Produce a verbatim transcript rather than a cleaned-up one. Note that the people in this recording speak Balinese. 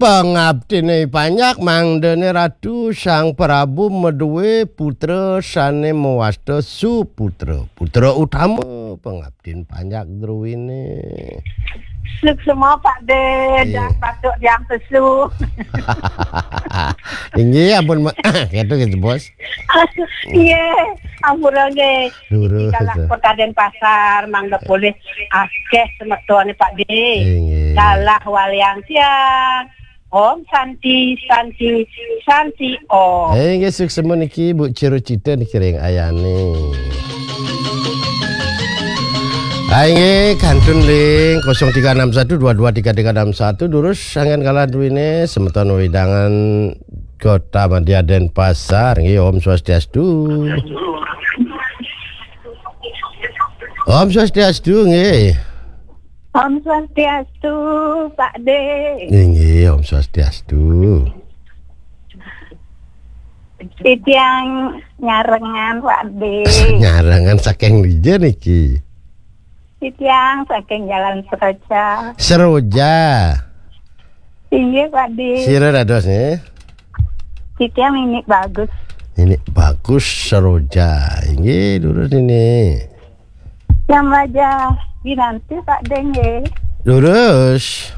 Pangabdine panjak mangdane Ratu Sang Prabu maduwe putra sane mawasta Suputra. Putra utama pangabdin panjak druwine. Suksma, Pak De, Iya. Dah patut tiang pesu. Inggih, ampun, Ma-, gitu, gitu, Bos. Iya, ampun, nggih. Lurus, Salah betul. Kota Denpasar, mangga polih akeh semetone, Pak De. Inggih. Salah waliang tiang. Om Santi, Santi, Santi Om. Eh, inggih, suksma niki, Bu Ciro Cita niki ring ayane. Ah, inggih, kantun ring kosong tiga enam satu dua dua tiga tiga enam satu, durus sanggan kalah druwine, semeton wewidangan Kota Madya Denpasar, nggih, Om Swastiastu. Om Swastiastu, nggih. Om Swastiastu, Pak De. Inggih, Om Swastiastu. Titiang nyarengan, Pak De. Nyarengan saking dija niki? Titiang saking Jalan Seroja. Seroja. Inggih, Pak De. Sira dados, nggih? Titiang ini bagus. Ini bagus, Seroja. Inggih, durus ini. Yang Raja Winanti, Pak De, nggih. Durus.